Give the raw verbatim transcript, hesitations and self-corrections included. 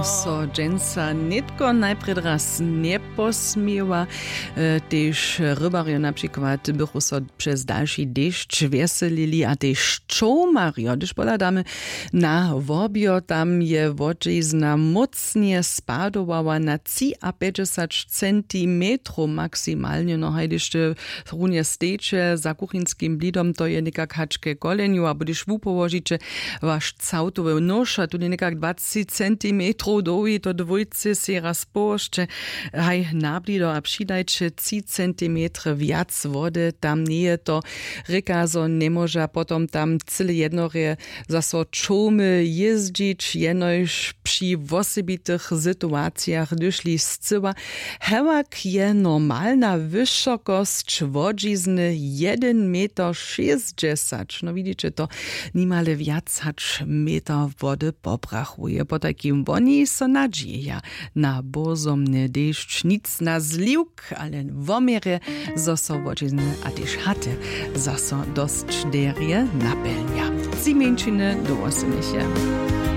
So dźensa nětko najprjedy raz njeposměła. E, tež rybarjo na přikład bychu so přez dalši dešć wjeselili a tež čołmarjo, hdyž pohladamy na wobjo, tam je wodźizna mócnje spadowała na třiapjećdźesać centimetrow maksimalnje. No hajdyšće runje steće za kuchinskim blidom, to je někak hač ke kolenju, abo hdyž wupołožiće waš całtowy nóž a tón je někak dwacci centimetrow dołhi, to dwójce sej raz połožće haj na blido a přidajće tři centimetry wjac wody. Tam njeje to rěka, zo njemóža potom tam cyle jednorje zaso čołmy jězdźić, jenož při wosebitych situacijach hdyžli scyła. Hewak je normalna wyšokosć wodźizny jedyn meter šěsćdźesać. No widiće to, nimale wjac hač meter wody poprachuje. Potajkim woni so nadźijeja na bózomny dešć, nic na zliwk, ale wo měrje, zo so wodźizny a tež haty zaso dosć derje napjelnja. Tři mjeńšiny dołho symješe.